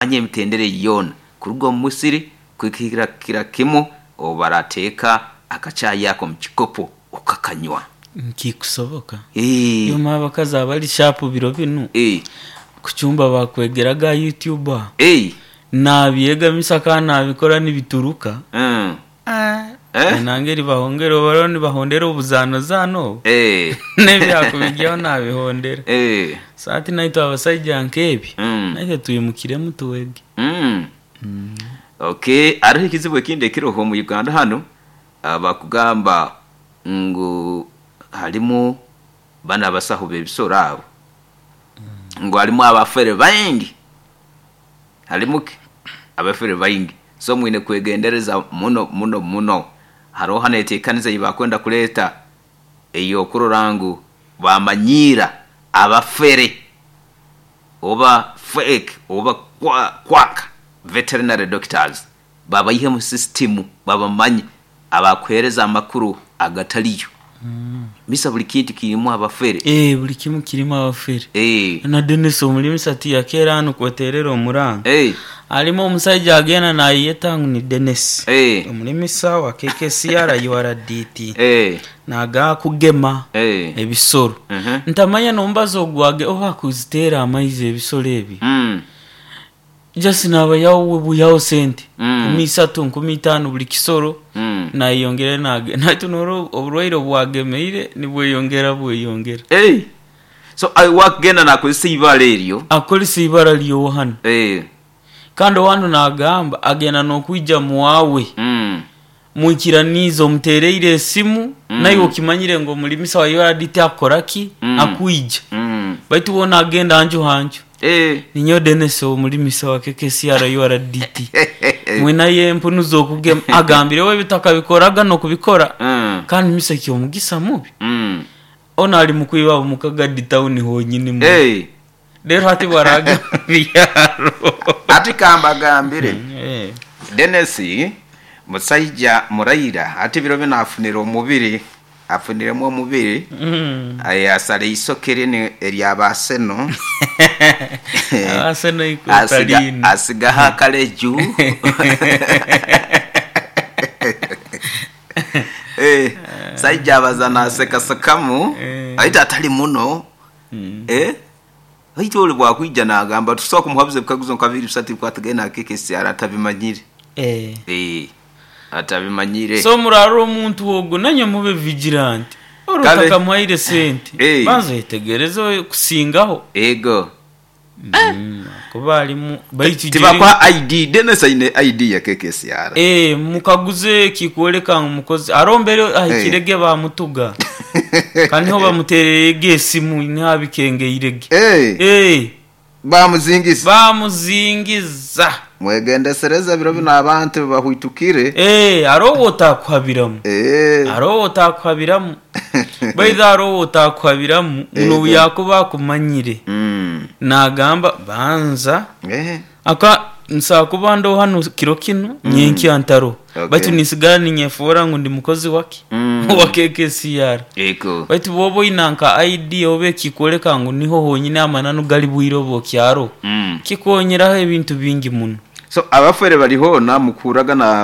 Manya emitendera egi yoona kuruga omu musiri kuhikira kimu obu barateeka akacaayi ako omu kikopo okakanywa. Nkikusoboka. Iwe abakazi abali sharp biro binu, kucumba bakwegeraga aha YouTube aho. Nabyegamisa kandi nabikora nibituruka. Enanga eribahongera obu bariyo nibahondera obuzaanozaano obu, n'ebyakubigyaho nabihondera. So hati naitwe abasaija nk'ebyo, naitwe twimukiremu twege. Okay, haroho ekizibu ekindi ekiroho omu Uganda hanu, bakugamba ngu harimu banu abasaho b'ebisoro abo, ngu harimu abafere baingi, harimu ki? Abafere baingi. So mwine kwegendereza muno muno muno. Haroho hanu enteekaniza ei bakwenda kureeta ey'okurora ngu baamanyiira abafere oba fake oba quack veterinary doctors babaihe mu sisitimu babamanye abakuheereza amakuru agatariyo. Misa buli kintu kirimu abafere. Eeh buli kimu kirimu abafere. Na Denis omulimisa tiyakeera hanu kweterera omuranga. Harimu omusaija agenda nayeyeta ngu ni Denis omulimisa wa KKCR URDT naga kugema ebisoro. Ntamanya nomubazi ogwage oba kuziteera amaizi ebisoro ebi. Just nabayawo bwihaho sente nkumi isatu, nkumi itaano buli kisoro nayeyongera nagenda. Hati norora oburwaire obwagemeire nibweyongera bweyongera. So wakugenda nakozesa eibara eryo? Akozesa eibara ryohanu. Kandi owanu nagamba agenda nokwija muwawe mwikiraniize omutereire esimu naiwe okimanyire ngu omulimisa wa URD akora ki? Akwija. Baitu wona agenda nju ha nju. Ninyowe Denis omulimisa wa KKCR URDT. Mwinayo empunu z'okugema. Agambire we ebitakabikoraga n'okubikora. Kandi misa eky'omugisa mubi. Onu ali mu kwiba omu Kagadi tawuni honyini muno. Reero hati bw'araagema omu byaro. Hati kambagambire, Denis musaija muraira hati biro binu afunire omubiri, afuniremu omubiri, yasara eisoke linu erya ba Arsenal, Arsenal eikuta liino. asigaho akaleju. Saija abaza nasekasekamu baitu atali muno. Baitu ole bwakwija nagamba tusobola kumuhabuza ebikaguzo nka bibiri bisatu ebikwatagaine na KKCR atabimanyire. Atabimanyire. So murarora omuntu ogu nanywe mube vigilant. Ori Kale. otakamuhaire sente banza oyetegereze kusingaho. Ego. Kuba alimu baitu Tibakuha ID, Dennis aine ID ya KKCR. Mukaguze ekikwoleka ngu mukozi. Haroho mbere ahikire ge bamutuga. Kandi niho bamutereire ge esimu niho abikengeire ge. Bamuzingiza. Bamuzingiza. Mwegendesereze biro binu abantu bahwitukire. Haroho wotakuhabiramu. Haroho wotakuhabiramu. Baidha haroho wotakuhabiramu nobu yakuba akumanyire. Nagamba banza aka nsobola kuba ndoho hanu kiro kinu nyenkya ntaroho. Baitu ninsigara ninyefoora ngu ndi mukozi waki? Owa KKCR. Baitu bwoba oina nka ID oba ekikwoleka ngu niho honyini amananu gali bwire obu okyaroho, kikonyeraho ebintu bingi muno. So abafere bali hoona mukuhurraga na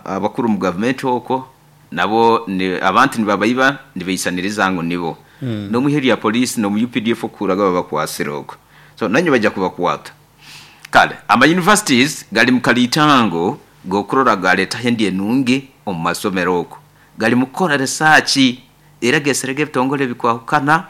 abakuru omu gavumenti okwo nabo abantu nibabaiba nibeisaniriza ngu nibo. N'omu ihe rya poliisi n'omu updf okuhurraga babakwasire okwo. So nainywe baija kubakwata. Kale ama universities gali mu kaliitango g'okurora galeetaho endya enungi omu masomero okwo. Gali mu kukora risaaki era geeserege ebitongore ebikwahukana,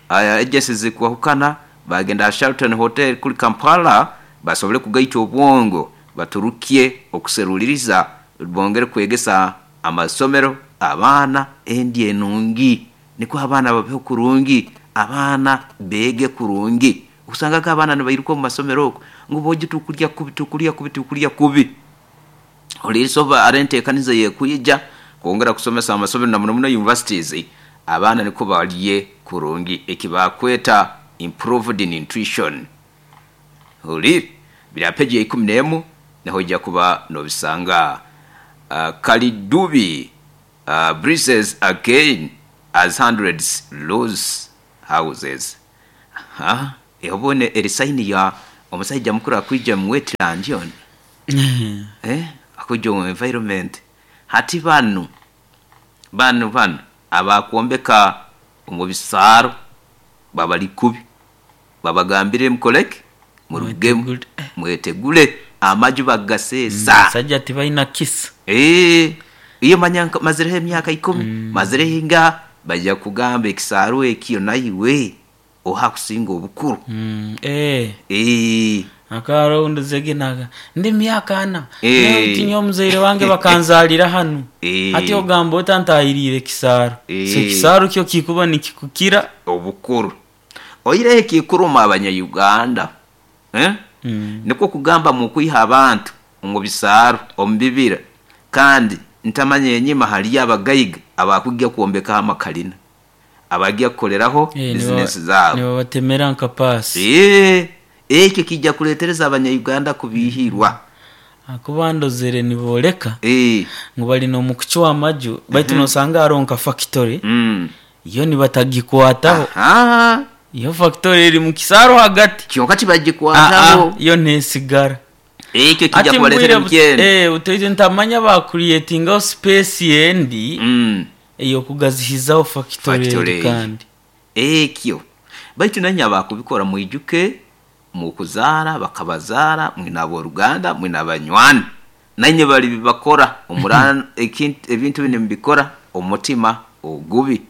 agencies ezikwahukana, baagenda aha Sheraton Hotel kuri Kampala basobole kugaita obwongo baturukye okuseruliiriza bongere kwegesa amasomero abaana endya enungi nikwo abaana babeho kurungi, abaana beege kurungi. Osangaga abaana nibairuka omu masomero okwo ngu boojo tukulya kubi, tukulya kubi, tukulya kubi. Oliisa obu hariho enteekaniza ey'ekwija kwongera kusomesa amasomero na muno muno universities, abaana nikwo barye kurungi eki baakweta improved nutrition. Huriire? Biri aha peegi ya ikumi n'emu niho oija kuba noobisanga. Kalidubi breezes again as hundreds lose houses. Obu eri sayini ya Omusaija mukuru akwija mu wetland onu, eh? Akwija omu environment. Hati banu, banu banu abakwombeka omu bisaaro babali kubi, babagambire mukoleki? Murugemu, Mwetegule. mwetegule, amaju bagaseesa. Abasaija tibaina kisa. Eeh, iyo manya mazireho emyaka ikumi, mazireho ingaha, baija kugamba ekisaaro ekyo naiwe oha akusinga obukuru. Eh. Eeh. Akaaro nduzege naga ndi myaka ana Eh. tinye omuzaire wange bakanzalira hanu. Eh. Hati ogamba ota ntahiriire ekisaaro. Eh. So ekisaaro kyo kikuba nikikukira. Obukuru. Oihireho ekikuruma abanya-Uganda, eh? Nikwo kugamba mukwiha abantu omu bisaaro, omu bibira, kandi ntamanya enyima haliyo abagaiga abakujja kwombekaho amakalina, abajja kukoleraho bizinesi zaabo. Nibabatemera nka paasi. Ekyo kijja kuleetereza abanya-Uganda kubiihirwa. Ahakuba ndozere nibooleka ngu bari n'omu kucwa amaju baitu noosanga hariho nka fakitori yo nibatagikwataho. Yo fakitori eri mu kisaaro hagati. Kyonka tibagikwataho. Yo neesigara. Ekyo kijja Hati kubaleetera mbwire emikyeno. Butaitu ntamanya baakuriyetingaho space endi ey'okugazihizaho fakitori Fakitori endi eyo. kandi. Ekyo. Baitu nanye abakubikora mwijuke mukuzaara bakabazaara mwine ab'oruganda mwine abanywani. Nainye bali bibakora ebintu binu mubikora omu mutima ogubi.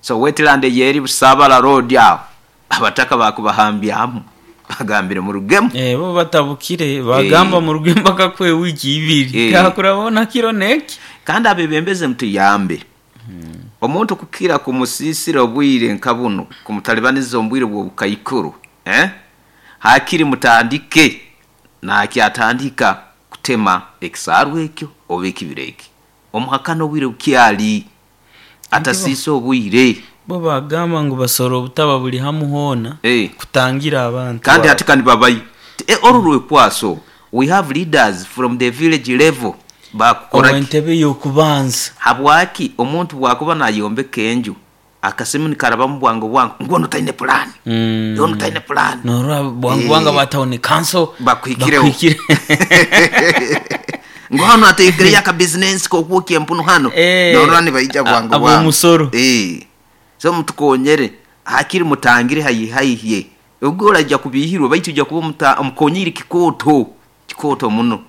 So wetland eyo eri Busaabala Road aho, abataka bakubahambyamu bagambire murugemu. Bo batabukire bagamba muruge mpaka kwe wiiki ibiri. Tihakurabaho kiro n'eki. Kandi abebembezi mutuyambe. Omuntu kukira kumusiisira obwire nka bunu, kumutalibaniza omu bwire bw'obukaikuru, eh? Hakiri mutandike nakyatandika kutema ekisaaru ekyo oba ekibira eki. Omuhakana obwire bukyali, atasiisa obwire. Bo bagamba ngu basora obutaba buri hamu hoona kutangira abantu. Kandi hati kandi babayo. Oru rwekwaso, we have leaders from the village level bakukora ki? Entebe y'okubanza. Habwaki omuntu bwakuba nayombeka enju akasimu nikarabamu bwangu bwangu ngu onu taine pulaani. Onu taine pulaani. Norora bwangu bwangu aba town council Bakuhikireho. bakuhikire. Ngu hanu ateekereyo akabizinensi k'okwokya empunu hanu. Norora nibaija bwangu bwangu. Ab'omusoro. So mutukonyere hakiri mutangire haihi haihi. Ogwo oraija kubiihirwa baitu oija kuba omukonyiire kikooto. Kikooto muno.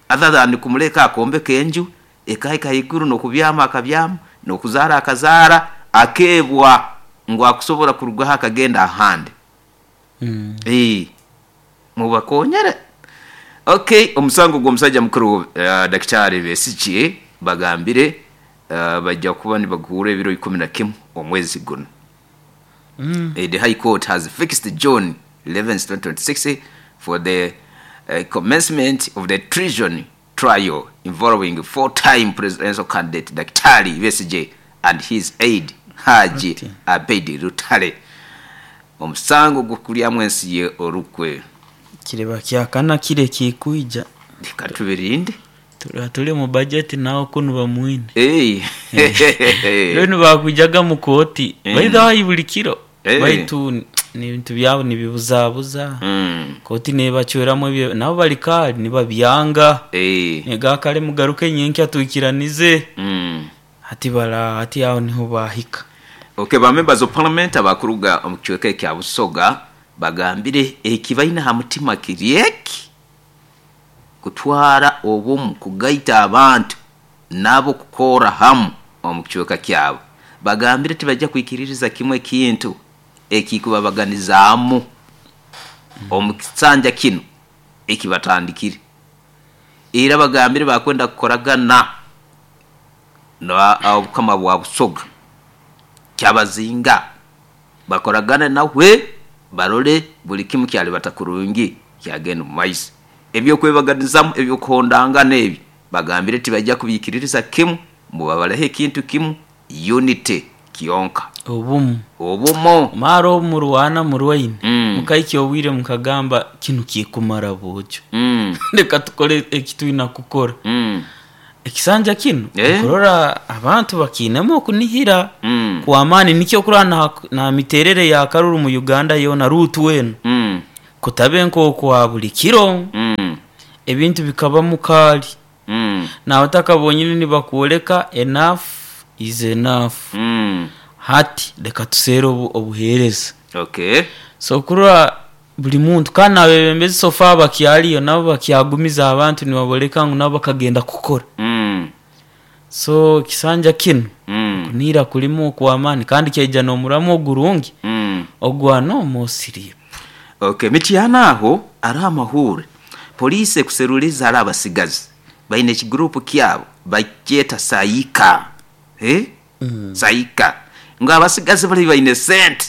Other than kumuleka akombeka enju ekahika haiguru n'okubyama akabyama n'okuzaara akazaara akeebwa ngu akusobora kurugaho akagenda ahandi. Mubakonyere. Okay, omusango gw'omusajja mukuru Daktari Besigye bagambire bajja kuba nibaguhurra ebiro ikumi na kimu omwezi guno. The High Court has fixed June 11, 2026 for the commencement of the treason trial involving four-time presidential candidate Daktari Besigye and his aide Haji Abeid Lutale. Omusango gw'okulyamu ensi ye orukwe. Kireba kyakana kire kikwija. Reka tubirinde. Turi mu budget nawe kunu bamwine. Rero bakwijaga mu kooti. Baitha buli kiro. Baitu n'ebintu byabo nibibuzabuza. Kooti nebacweramu ebyo nabo bari kare nibabyanga. Nega kare mugaruke nyenkya twikiranize. Hati bara hati aho niho bahika. Okay, ba members of parliament abakuruga omu kicweka ekya Busoga bagambire ekibaine ha mutima kiri eki kutwara obumu kugaita abantu nabo kukora hamu omu kicweka kyabo. Bagambire tibajja kwikiririza kimwe ekintu ekikubabaganizaamu omu kisanja kinu ekibatandikire. Era bagambire bakwenda kukoragana na obukama bwa Busoga kyabazinga bakoragane nawe barole buli kimu kyalibata kurungi kyagenda omu maiso. Ebyokwebaganizamu ebyokuhondangana ebi bagambire tibajja kubiikiririza kimu, mubabaleho ekintu kimu unity kyonka. Obumu. Obumu. Mara obu murwana murwaine. Mukahikya obwire mukagamba kinu kikumara bwojo. Reka tukore ekitwina kukora. Ekisanja kinu kurora abantu bakiinemu okunihira kw'amaani nikyo okurora na miterere ya karuru mu Uganda yoona ruutu enu. Kutabe nk'okwa buli kiro. Ebintu bikaba mukaali. N'abataka bonyini nibakwoleka enough is enough. Hati leka tuseere obuheereza. So kurora buli muntu kandi n'abebembezi so far bakyaliyo nabo bakyagumiza abantu nibaboleka ngu nabo bakagenda kukora. So ekisanja kinu okunihira kurimu okw'amaani kandi kyaija n'omuramu ogurungi ogwa no more sleep. Okay, Mityana aho hariho amahuure. Poliisi ekuseruliza hariho abasigazi baine ekiguruupu kyabo bakyeta Saika. Eh? Saika. Ngu abasigazi bari baine sente,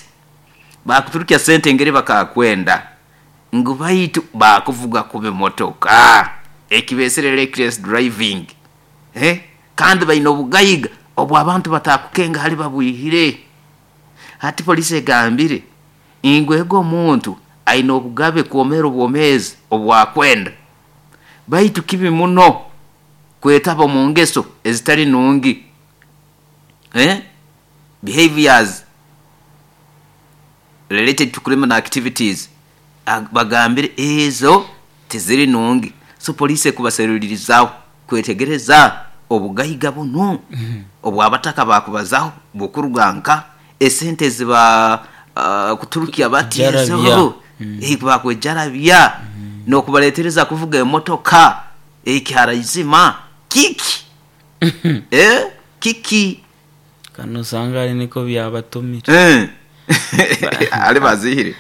bakuturukya sente engeri bakakwenda ngu baitu bakuvuga kubi motoka ekibesire reckless driving. Eh? Kandi baine obugaiga obu abantu batakukenga hali babwihire. Hati poliisi egambire ngu ego omuntu aine obugabe kwomeera obwomeezi obwakwenda, baitu kibi muno kwetaba omu ngeso ezitali nungi. Eh? Behaviors related to criminal activities bagambire ezo tiziri nungi. So poliisi ekubaserulirizaho kwetegereza obugaiga bunu obw'abataka bakubazaho bukuruga nka esente eziba kuturukya bati ezo bakwejarabya n'okubaletereza kuvuga emotoka ekiharaizima kiki? Kiki? Kanu osanga ari niko byabatumire. Ali bazihire.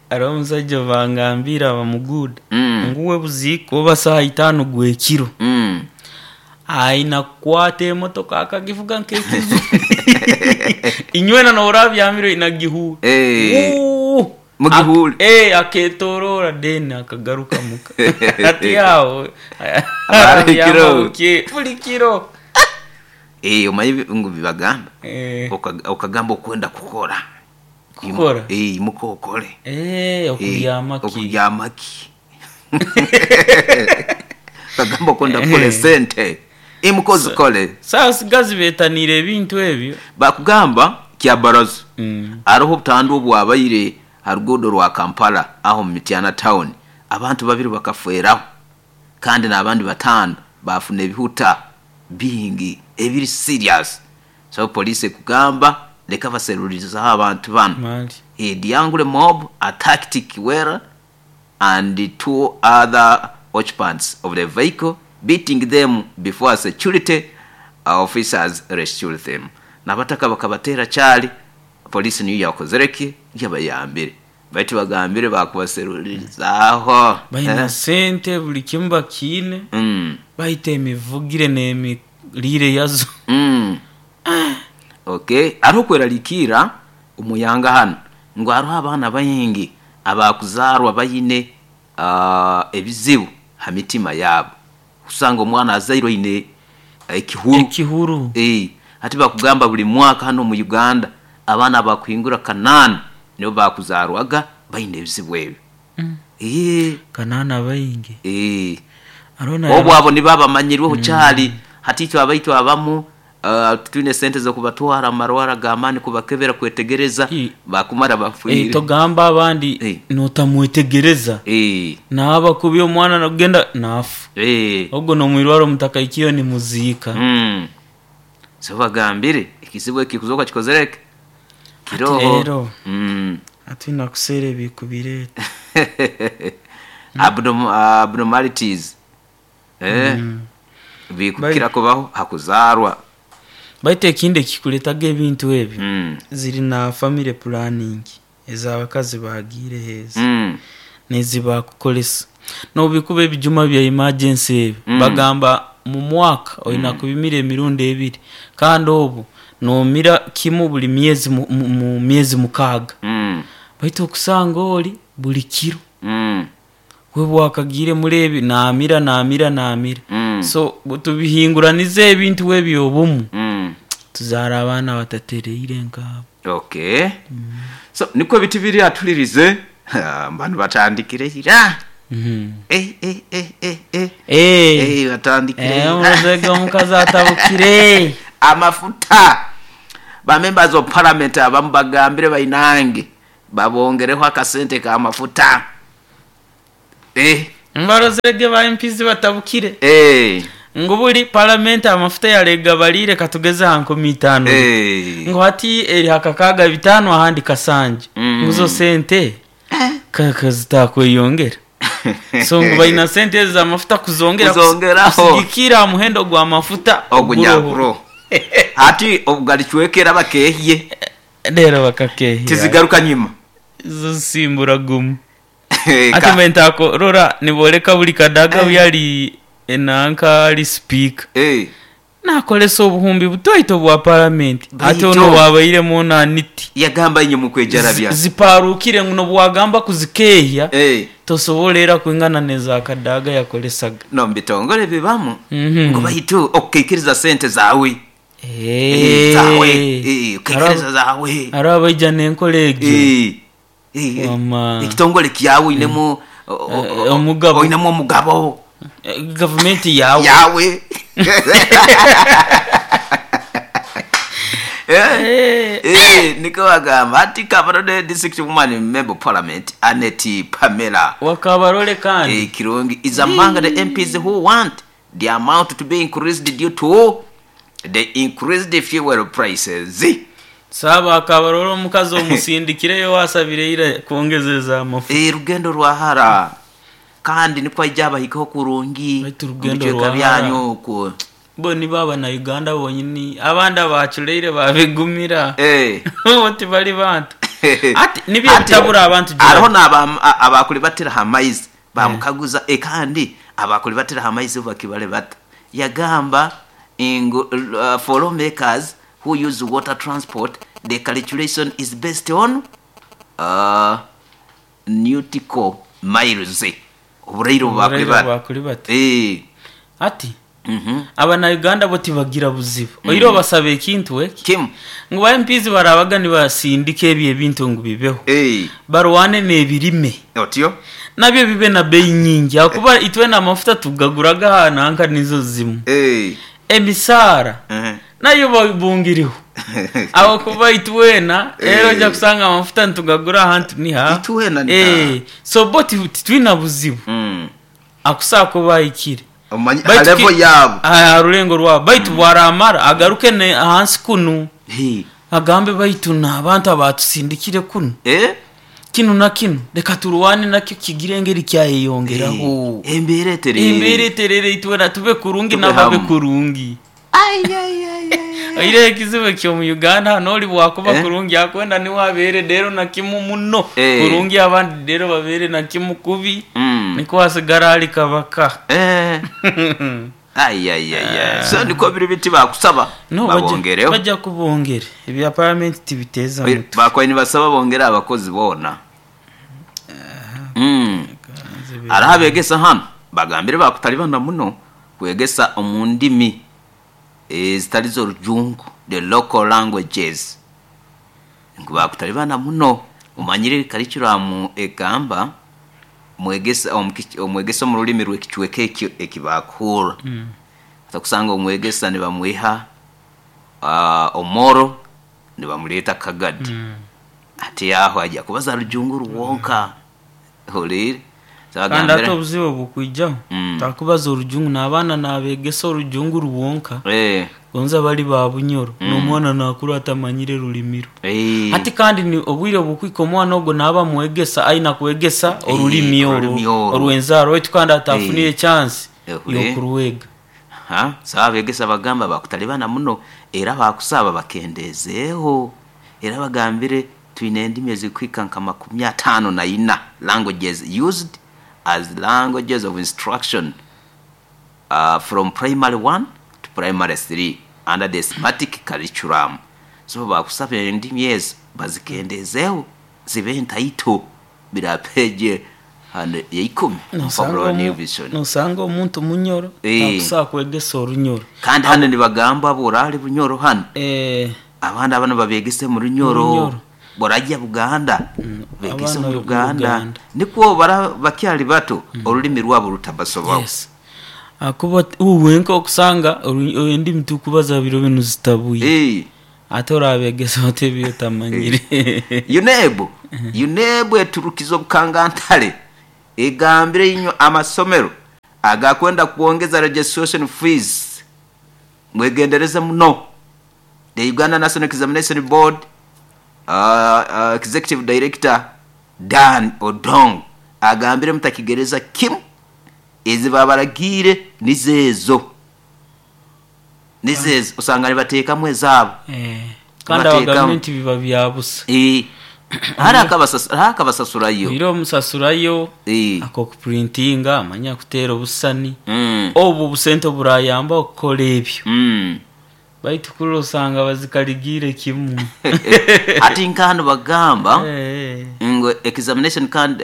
Hariho omusaija bangambire aba muguuda ngu we buziika oba saaha itaano gw'ekiro aina kukwata emotoka akagivuga nk'ekizu. Inywena nooraba byamire oina gihuura. Mugihuure. Aketorora then akagaruka muka. Hati aho Abari kiro. Buli kiro. Omanyi ngu bibagamba. Okagamba okwenda kukora. Kukora? Imuka okore. Okuryama ki? Okuryama ki? Okagamba okwenda kukora esente. Imuka ozikore. Saasigazi beetaniire ebintu ebyo. Bakugamba kyabarazo. Hariho obutandu obwabaire ha ruguudo rwa Kampala aho mu Mityana town. Abantu babiri bakafeeraho kandi n'abandi 5 baafuna ebihuta bingi ebiri serious. So poliisi ekugamba leka baserulirizaho abantu banu. The angry mob attacked Kiwera and 2 other occupants of the vehicle, beating them before security officers rescued them. N'abataka bakabateera kyali, poliisi niyo yakozere ki? Yabayambire. Baitu bagambire bakubaserulirizaho. Baina sente buli kimu bakiine. Baita emivugire n'emiriire yazo. Okay, hariho okwerarikira omuyanga hanu ngu hariho abaana baingi abakuzaarwa baine ebizibu ha mitima yaabo. Kusanga omwana azairwe aine ekihuru. Ekihuru. Hati bakugamba buli mwaka hano omu Uganda abaana abakuhingura 8 nibo bakuzaarwaga baine ebizibu ebyo. 8 baingi. Obu abo nibo abamanyirweho kyali. Hati itwe abaitu abamu twine sente z'okubatwara amarwara g'amaani kubakebera kwetegereza bakumara bafiire. Togamba abandi notamwetegereza. Naaba kubi omwana nagenda naafa. Ogwo n'omwirwaro mutakaikiyo nimuziika. So bagambire ekizibu eki kuzoka kikozereke. Kiroho. Rero. Atwina kuseera ebikubireeta. Abnormalities. Bikukira kubaho hakuzarwa. Baitu ekindi ekikuretaga ebintu ebyo ziri na family planning ez'abakazi bagiire heza nezibakukolesa. N'obikuba ebijuma bya emergency ebyo bagamba mu mwaka oina kubimira emirundi 2 kandi obu nomira kimu buli myezi mu myezi 6. Baitu okusanga oli buli kiro. We bwakagiire muri ebi naamira naamira naamira. So tubihinguranize ebintu ebyo obumu. Tuzaara abaana batatereire nk'abo. Okay. So niko ebintu biri atulirize abantu batandikire ira. Batandikire. Omuzego omukazi atabukire. Amafuta. Ba members of parliament abamu bagambire bainange babongereho akasente ka mafuta. Mbarozerege ba MPs batabukire. Ngu buri palamenti amafuta yaregabariire katugeze aha 5000. Ngu hati eri aha 65 ahandi 7. Ngu zo sente kazitakweyongera. So ngu baina sente ezo z'amafuta kuzongera Kuzongeraho. Kusigikira aha muhendo gw'amafuta ogunyakuro. Hati obugaricwekera bakehye. Rero bakakehya. Tizigaruka nyima. Zo zisimbura gumu. Ati mbe ntakorora niboreka buri Kadaga yali enanka ali speaker. Nakolesa obuhumbi butoito bwa palamenti. Ate ono wabairemu naniti. Yagamba inye mukwejarabya. Ziparukire ngu nobwagamba kuzikehya. Tosobola era kwingana neza Kadaga yakolesaga. No mbitongole bibamu. Ngo baitu okukikiriza sente zawe. Zawe. Ukikiriza zawe. Hariho abaija n'enkora egyo. Ekitongole kyawe inemu omugabo. Oinemu omugabo. Gavumenti yawe. Yawe. Niko bagamba ati Kabarole District Woman Member Parliament Annette Pamela Wakabarole kandi Kirungi is among the MPs who want the amount to be increased due to the increased fuel prices. Saba Kabarole omukazi omusindikireyo wasabire ira kwongezeza amafuta. Rugendo rwahara kandi niko ajya bahikaho kurungi. Baitu rugendo rwahara. Byanyu ku Bo ni baba na Uganda bonyini abandi abaculeire babigumira. Bo bali bantu. Ati nibyo bitabura abantu gira. Ariho abakuri batira hamaizi bamukaguza kandi abakuri batira hamaizi bakibale bata. Yagamba ingo for lawmakers who use water transport the calculation is based on nautical miles. Obureiro bakuri bata. Ati Abana Uganda bo tibagira buzibu. Oiro basaba ekintu eki. Kim ngu ba MPs barabaga nibasindika ebi ebintu ngu bibeho. Barwane n'ebirime. Otyo nabyo bibe na bei nyingi akuba itwe na mafuta tugaguraga hananka nizo zimu. Emisara nayo babungiriho. Aho kuba itwena rero jya kusanga amafuta ntugagura ahantu ni ha. Itwena ni. So bo titwina buzibu. Akusako bayikire. Level yabo rulengo rwabo baitu bwaramara agaruke ne ahansi kunu agambe baitu n'abantu abatusindikire kunu kinu na kinu reka turwane nakyo kigire engeri kyayeyongeraho embere terere embere terere itwena tube kurungi n'ababe kurungi. Aire ekizibu kyo mu Uganda noli bwakuba kurungi akwenda ni wabere dero na kimu muno kurungi abandi dero babere na kimu kubi. Niko wasigara ali kabaka. So niko biri biti bakusaba babongereho. Bajja kubongere ebya parliament tibiteza mutu. Bakwa ni basaba bongera abakozi bona. Arahabegesa hano bagambire bakutalibana muno kwegesa omundimi zitari zo rujungu the local languages. Ngu bakutalibana muno umanyire curriculum egamba mwegesa omwegesa mu rulimi rw'ekichweke ekibakura. Atakusanga omwegesa ne bamwiha omoro ne bamuleta Kagadi. Ati aho ajya kubaza rujungu ruwonka. Holire kandi ate obuzibu bukwijaho takubaza orujungu n'abaana nabegesa orujungu ruwonka. Gonza bali ba Bunyoro n'omwana nakuru atamanyire rulimiro. Ati kandi ni obwire obukwika omwana ogwo naba mwegesa aina kwegesa orulimi orwenzaro wetu kandi atafunire chance yokuruwega. Sawa begesa bagamba bakutalibana muno era bakusaba bakendezeho era bagambire twine endimi ezikwika nka 54 languages used as languages of instruction from primary 1 to primary 3 under the thematic curriculum. So bakusaba endimi ezo bazikendezeho zibe ntaito birapeje hano ya 10. Nosanga omuntu Munyoro takusa kwegesa orunyoro. Kandi hano nibagamba borali Bunyoro hano. Abana bano babegese mu Runyoro. Borajya Buganda begese mu Uganda niko bakyali bato olulimi rwabo rutabasobaho. Akuba uwenka okusanga endimi tukubaza biro binu zitabuye. Ate orabegesa otebi otamanyire. UNEB eturukizo bukangantale. Egambire inywe amasomero agakwenda kwongeza registration fees mwegendereze muno. The Uganda National Examination Board Executive Director Dan Odong agambire mutakigereza kimu ezi babaragiire nizo ezo nizo ezo osanga nibateekamu ezaabo. Eh, kandi aba Nibateekamu. gavumenti biba bya busa. Eh, hariho akabasasurayo. Oire omusasurayo Eh. ak'okupurintinga amanya kuteera obusani Mm. obwo obusente oburayamba okukora ebyo Mm. baitu kuri osanga bazikarigiire kimu. Ati nk'hanu bagamba Eh. ngu examination can,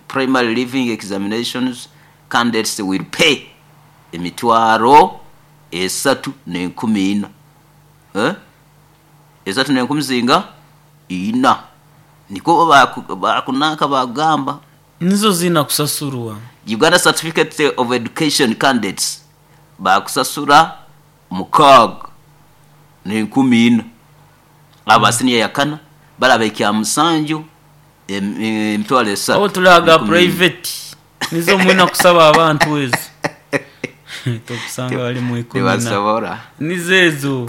primary living examinations candidates will pay 3,400, eh? 3,400 niko bakunanka bagamba. Nizo zina kusasurwa. Uganda Certificate of Education candidates bakusasura 6,400, aba senior ya kana baraba ekya musanju 3,000. Obu turi aga 14,000. Private nizo mwina kusaba abantu ezo tokusanga bali mu ikumi na Tibasobora. Nizo ezo.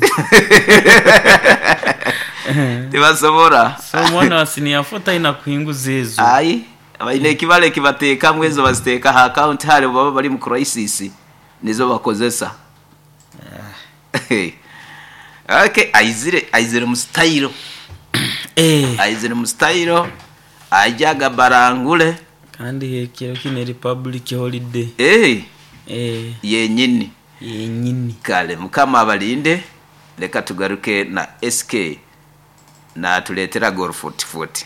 Tibasobora. So omwana wa senior four talina kuhinguza ezo. Ai baine ekibara ekibateekamu ezo baziteeka ha account hare baba bari mu crisis nizo bakozesa. Okay, aizire mu style. Eh. Aizire mu style ajaga barangule. Kandi ekiro kino republic holiday. Eh. Eh. Yenyini. Yenyini. Kale mukama abalinde, leka tugaruke na SK na tuleetera gol 40.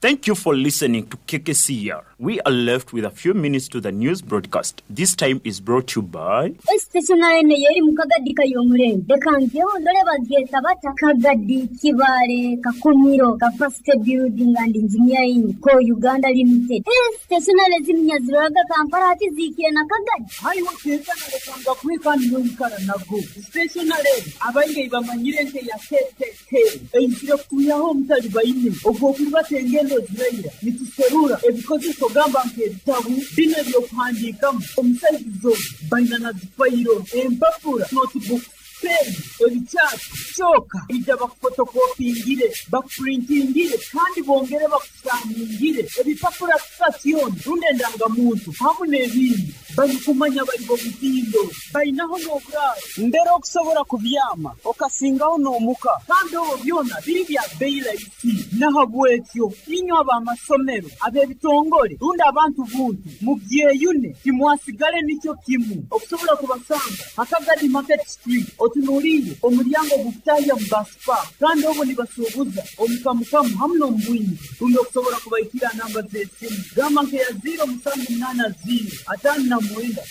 Thank you for listening to KKCR. We are left with a few minutes to the news broadcast. This time is brought to you by Stationary eno yeri mu Kagadi kayomurembe leka ngeho ndore bagyeta bata Kagadi Kibale Kakumiro Capacity Building and Engineering Co Uganda Limited. Stationary ziminya ziroraga Kampala hati ziikire na Kagadi. Haiwe kwekana lekanga kwekani noikara nago stationary abaingi bamanyire nke ya KKK eizire kutuyaho omutali baine ogwo kulibatenga engendo ziraira nituserura ebikozeso gamba nk'ebitabu bino ebyokuhandiikamu omusaizizo baina na zifayiro empapura notebook pen ebikyapa kyoka ija bakufotokopingire bakupurintingire kandi bongere bakusaningire ebipapura sitasioni rundi endangamuntu hamu n'ebindi barikumanya bari bo mutindo bainaho n'oburaaro mbere okusobora kubyama okasingaho n'omuka kandi obwo byona biri bya bei rahisi. Nahabwekyo inywe ab'amasomero ab'ebitongole rundi abantu buntu mubyeyune timwasigale nikyo kimu okusobola kubasanga Hakagadi Market Street otunuliire omulyango gukutahya mu basipa kandi obwo nibasuubuza omukamukamu hamu n'omubwingi rundi okusobola kubaikira namba z'esimu gamba nkeya 0780 59 62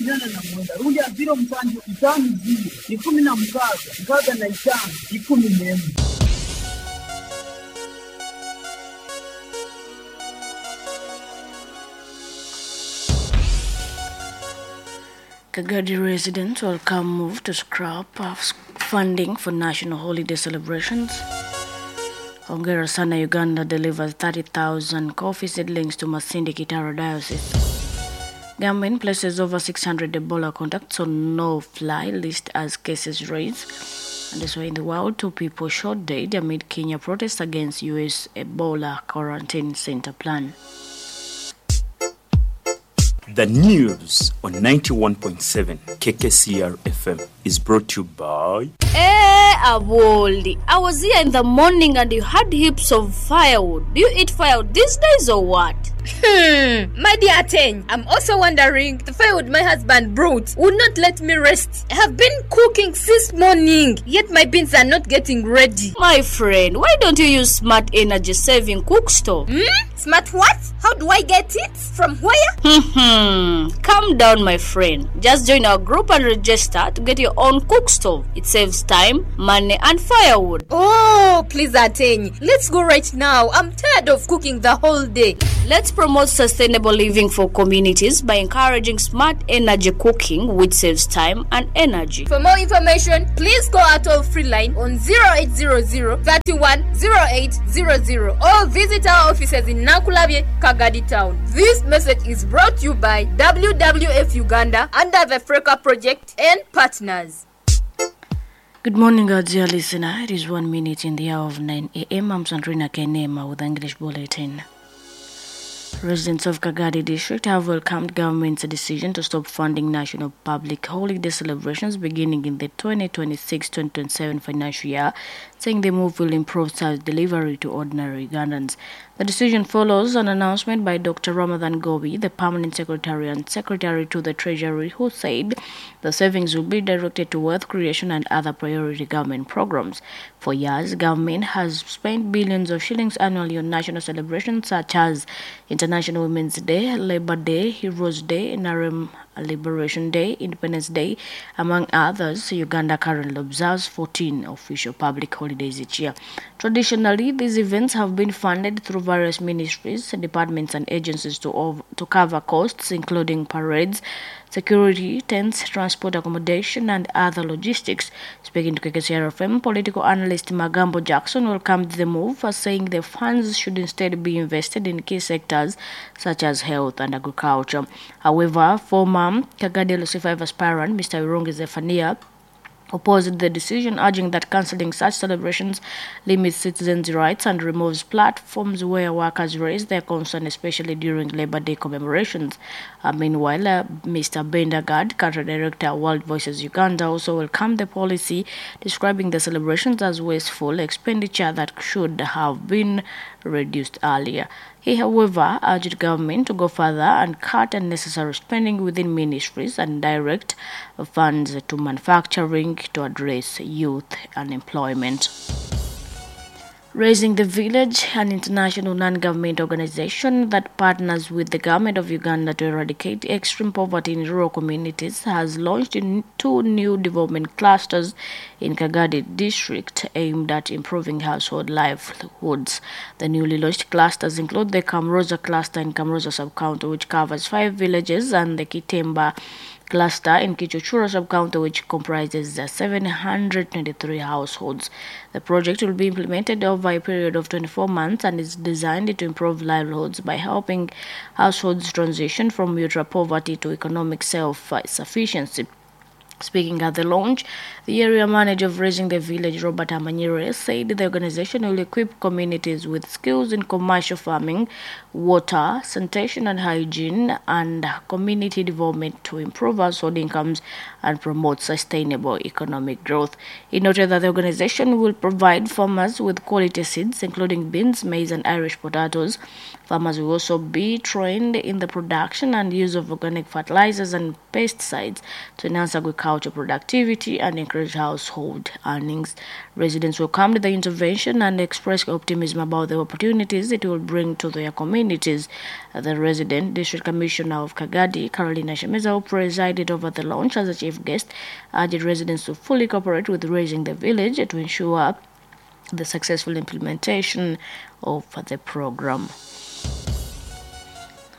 89 rundi ya 0750 16 65 11. Kagadi residents welcome move to scrap funding for national holiday celebrations. Hongera Sana Uganda delivers 30,000 coffee seedlings to Masindi Kitara Diocese. Government places over 600 Ebola contacts on no-fly list as cases rise. And this way in the world, 2 people shot dead amid Kenya protests against U.S. Ebola quarantine center plan. The news on 91.7 KKCR FM is brought to you by Eh, Aboldi, I was here in the morning and you had heaps of firewood. Do you eat firewood these days or what? My dear Ateng, I'm also wondering, the firewood my husband brought would not let me rest. I have been cooking since morning, yet my beans are not getting ready. My friend, why don't you use smart energy saving cook stove? Smart what? How do I get it? From where? Calm down, my friend. Just join our group and register to get your own cook stove. It saves time, money, and firewood. Oh, Oh, please, Ateny, let's go right now. I'm tired of cooking the whole day. Let's promote sustainable living for communities by encouraging smart energy cooking, which saves time and energy. For more information, please call our toll free line on 0800 31 0800 or visit our offices in Nakulabye, Kagadi Town. This message is brought to you by WWF Uganda under the Freka Project and partners. Good morning, our dear listener. It is 1 minute in the hour of 9 a.m. I'm Sandrina Kenema with the English Bulletin. Residents of Kagadi District have welcomed government's decision to stop funding national public holiday celebrations beginning in the 2026-2027 financial year, saying the move will improve service delivery to ordinary Ugandans. The decision follows an announcement by Dr. Ramadan Ggoobi, the permanent secretary and secretary to the Treasury, who said the savings will be directed to wealth creation and other priority government programs. For years, government has spent billions of shillings annually on national celebrations such as International Women's Day, Labor Day, Heroes Day, NRM Liberation Day, Independence Day, among others. Uganda currently observes 14 official public holidays each year. Traditionally, these events have been funded through various ministries, departments, and agencies to cover costs, including parades, security, tents, transport, accommodation, and other logistics. Speaking to KKCR FM, political analyst Magambo Jackson welcomed the move, saying the funds should instead be invested in key sectors such as health and agriculture. However, former Kagadi LC5 aspirant Mr. Birungi Zephania opposed the decision, urging that cancelling such celebrations limits citizens' rights and removes platforms where workers raise their concern, especially during Labor Day commemorations. Meanwhile, Mr. Bendagad, country director, World Voices Uganda, also welcomed the policy, describing the celebrations as wasteful expenditure that should have been reduced earlier. He, however, urged government to go further and cut unnecessary spending within ministries and direct funds to manufacturing to address youth unemployment. Raising the Village, an international non-government organization that partners with the government of Uganda to eradicate extreme poverty in rural communities, has launched in two new development clusters in Kagadi district aimed at improving household livelihoods. The newly launched clusters include the Kamroza cluster in Kamroza sub-county, which covers 5 villages, and the Kitemba cluster in Kichuchura sub-county, which comprises 723 households. The project will be implemented over a period of 24 months and is designed to improve livelihoods by helping households transition from ultra poverty to economic self-sufficiency. Speaking at the launch, the area manager of Raising the Village, Robert Amanyire, said the organization will equip communities with skills in commercial farming, water, sanitation and hygiene, and community development to improve household incomes and promote sustainable economic growth. He noted that the organization will provide farmers with quality seeds, including beans, maize, and Irish potatoes. Farmers will also be trained in the production and use of organic fertilizers and pesticides to enhance agriculture productivity and encourage household earnings. Residents welcomed the intervention and expressed optimism about the opportunities it will bring to their communities. The resident district commissioner of Kagadi, Carolina Shemeza, who presided over the launch as a chief guest, urged residents to fully cooperate with Raising the Village to ensure the successful implementation of the program.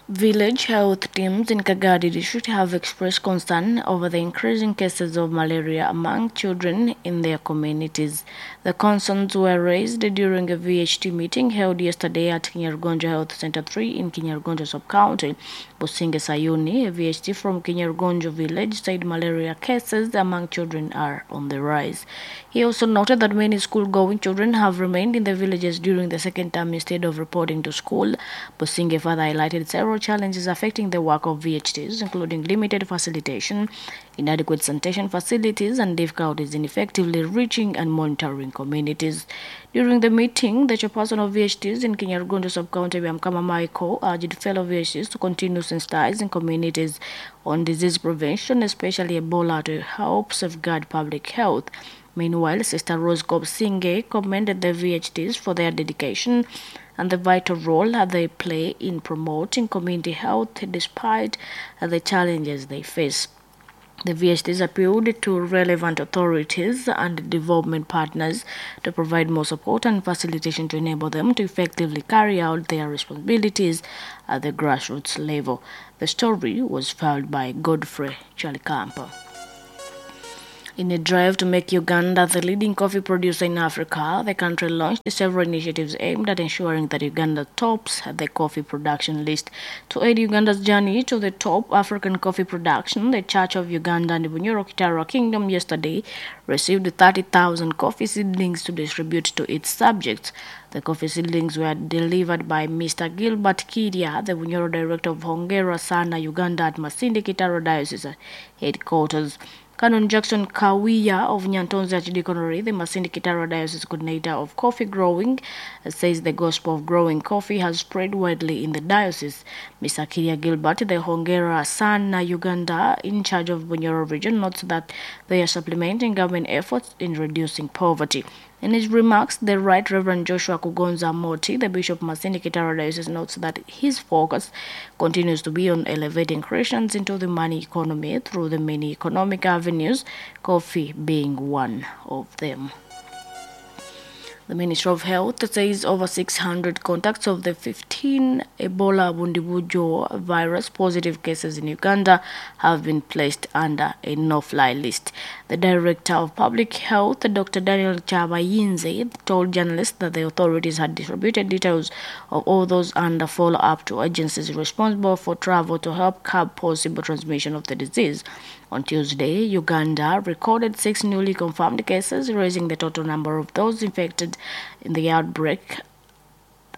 Village health teams in Kagadi district have expressed concern over the increasing cases of malaria among children in their communities. The concerns were raised during a VHT meeting held yesterday at Kinyarugonjo Health Center 3 in Kinyarugonjo sub-county. Businge Sayuni, a VHT from Kinyarugonjo village, said malaria cases among children are on the rise. He also noted that many school-going children have remained in the villages during the second term instead of reporting to school. Businge further highlighted several challenges affecting the work of VHTs, including limited facilitation, inadequate sanitation facilities, and difficulties in effectively reaching and monitoring communities. During the meeting, the chairperson of VHTs in Kinyarugondo sub-county, Byamukama Michael, urged fellow VHTs to continue sensitizing communities on disease prevention, especially Ebola, to help safeguard public health. Meanwhile, Sister Rose Kobsinge commended the VHTs for their dedication and the vital role that they play in promoting community health despite the challenges they face. The VHTs appealed to relevant authorities and development partners to provide more support and facilitation to enable them to effectively carry out their responsibilities at the grassroots level. The story was filed by Godfrey Chalikampa. In a drive to make Uganda the leading coffee producer in Africa, the country launched several initiatives aimed at ensuring that Uganda tops the coffee production list. To aid Uganda's journey to the top African coffee production, the Church of Uganda and Bunyoro Kitara Kingdom yesterday received 30,000 coffee seedlings to distribute to its subjects. The coffee seedlings were delivered by Mr. Gilbert Kiria, the Bunyoro Director of Hongera Sana Uganda at Masindi Kitara Diocese headquarters. Canon Jackson Kawiya of Nyantonzi Archdeaconry, the Masindi Kitara Diocese Coordinator of Coffee Growing, says the gospel of growing coffee has spread widely in the diocese. Mr. Kiria Gilbert, the Hongera Sana Uganda in charge of Bunyoro region, notes that they are supplementing government efforts in reducing poverty. In his remarks, the Right Reverend Joshua Kugonza Moti, the Bishop Masindi Kitara Diocese, notes that his focus continues to be on elevating Christians into the money economy through the many economic avenues, coffee being one of them. The Ministry of Health says over 600 contacts of the 15 Ebola Bundibugyo virus positive cases in Uganda have been placed under a no-fly list. The Director of Public Health, Dr. Daniel Chabayinze, told journalists that the authorities had distributed details of all those under follow-up to agencies responsible for travel to help curb possible transmission of the disease. On Tuesday, Uganda recorded 6 newly confirmed cases, raising the total number of those infected in the outbreak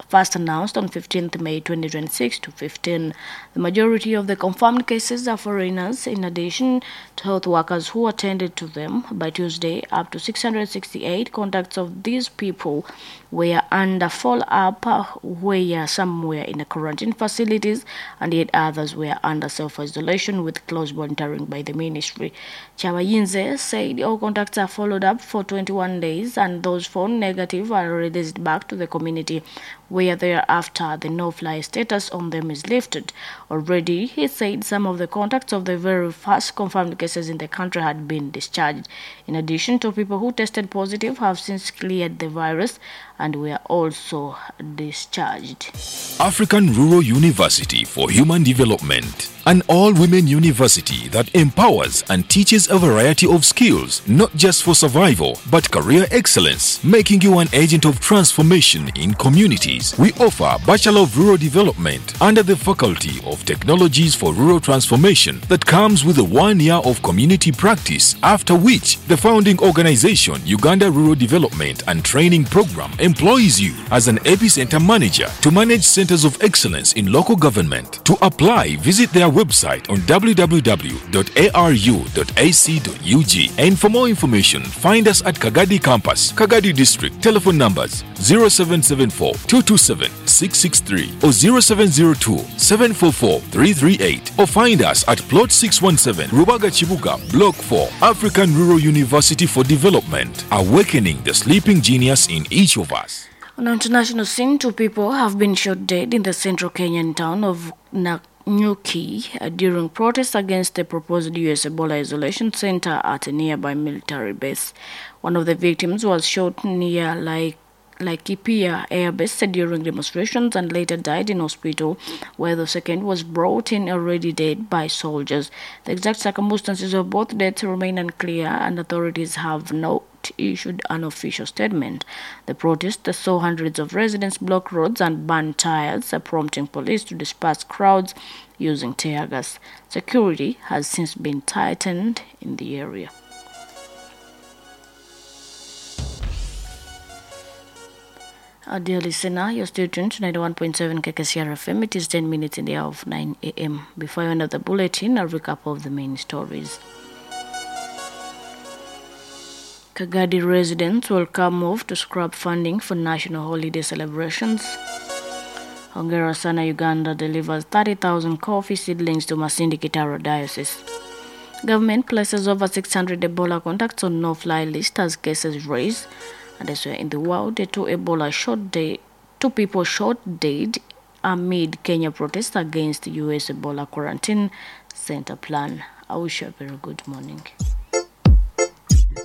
first announced on 15th May 2026 to 15. The majority of the confirmed cases are foreigners, in addition to health workers who attended to them. By Tuesday, up to 668 contacts of these people were under follow-up, where some were in the quarantine facilities and yet others were under self-isolation with close monitoring by the ministry. Chabayinze said all contacts are followed up for 21 days and those found negative are released back to the community, where thereafter the no-fly status on them is lifted. Already, he said some of the contacts of the very first confirmed cases in the country had been discharged. In addition, 2 people who tested positive have since cleared the virus and were also discharged. African Rural University for Human Development, an all-women university that empowers and teaches a variety of skills, not just for survival, but career excellence, making you an agent of transformation in communities. We offer Bachelor of Rural Development under the Faculty of Technologies for Rural Transformation that comes with a 1 year of community practice, after which the founding organization, Uganda Rural Development and Training Program, employs you as an epicenter manager to manage centers of excellence in local government. To apply, visit their website on www.aru.ac.ug, and for more information, find us at Kagadi Campus, Kagadi District. Telephone numbers 0774 227 663 or 0702 744 338, or find us at Plot 617, Rubaga Chibuga, Block 4, African Rural University for Development, awakening the sleeping genius in each of us. On the international scene, 2 people have been shot dead in the central Kenyan town of Nanyuki during protests against the proposed U.S. Ebola isolation center at a nearby military base. One of the victims was shot near Laikipia Air Base during demonstrations and later died in hospital, where the second was brought in already dead by soldiers. The exact circumstances of both deaths remain unclear, and authorities have not issued an official statement. The protest saw hundreds of residents block roads and burn tires, prompting police to disperse crowds using tear gas. Security has since been tightened in the area. Dear listener, you're still tuned to 91.7 KKCR FM. It is 10 minutes in the hour of 9 a.m. Before I end up the bulletin, a recap of the main stories. Kagadi residents welcome move to scrap funding for national holiday celebrations. Hongera Sana Uganda delivers 30,000 coffee seedlings to Masindi Kitara Diocese. Government places over 600 Ebola contacts on no-fly list as cases rise. And elsewhere in the world, two people shot dead amid Kenya protests against U.S. Ebola quarantine center plan. I wish you a very good morning.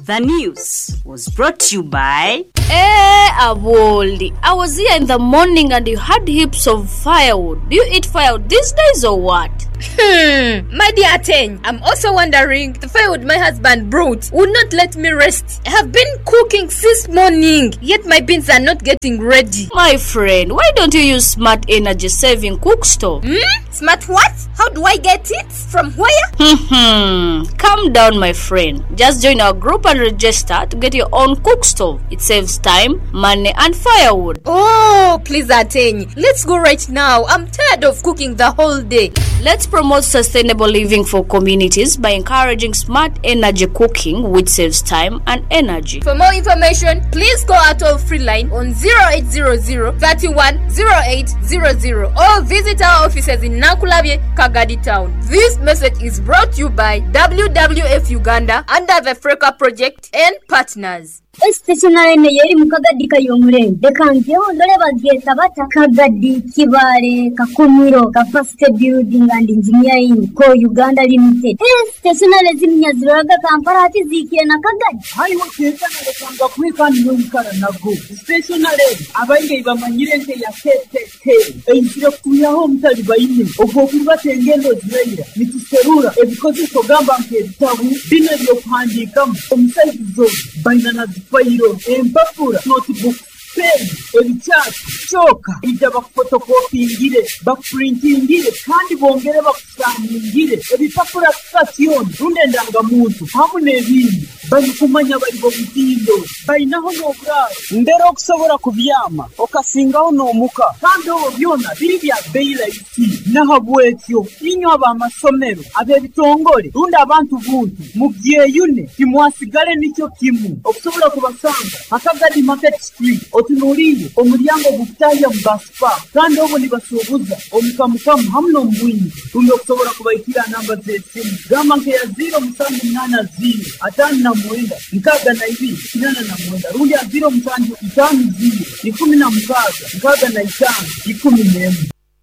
The news was brought to you by Eh, Aboli, I was here in the morning and you had heaps of firewood. Do you eat firewood these days or what? My dear Ateng, I'm also wondering the firewood my husband brought would not let me rest. I have been cooking since morning, yet my beans are not getting ready. My friend, why don't you use smart energy saving cook stove? Smart what? How do I get it? From where? Calm down, my friend. Just join our group and register to get your own cook stove. It saves time, money, and firewood. Oh, please, Ateng. Let's go right now. I'm tired of cooking the whole day. Let's promote sustainable living for communities by encouraging smart energy cooking, which saves time and energy. For more information, please call our toll free line on 0800 31 0800 or visit our offices in Nakulabye, Kagadi Town. This message is brought to you by WWF Uganda under the Freka Project and partners. Stationary ene yeri mu kagadi kayomurembe reka ngeho ndore bagyeta bata Kagadi, Kibale, Kakumiro, Capacity Building and Engineering Co Uganda Limited. Stationary ziminya ziroraga Kampala ati zikire na Kagadi. Haiwe ketanalekanga kwika niyoikara nago stationary abaingi bamanyire nke ya KKK eizire kutuyaho omutali baine ogw'okuribata engendo ziraira nituserura ebikozeso gamba nk'ebitabu bino ebyokuhandiikamu omusaizi zona baina na zifayiro, empapura, notebook, pen, ebikyasi kyoka ija bakufotokopingire, bakupurintingire kandi bongere bakusaningire ebipapura sitasioni rundi endangamuntu hamu n'ebindi. Barikumanya bari bomutindo bainaho n'oburaaro mbere okusobora kubyama okasingaho n'omuka kandi obwo byona biri bya bei rahisi. Nahabwekyo inywe ab'amasomero, ab'ebitongore rundi abantu buntu mubyeyune, timwasigale nikyo kimu. Okusobola kubasanga Akagadi Market Street, otunuulire omulyango gukutahya mu baspa, kandi obwo nibasuubuza omukamukamu hamu n'omubwingi. Rundi okusobola kubaikira namba z'esimu gamba nkeya 0780 59 62 89 rundi ya 0750 16 65 11.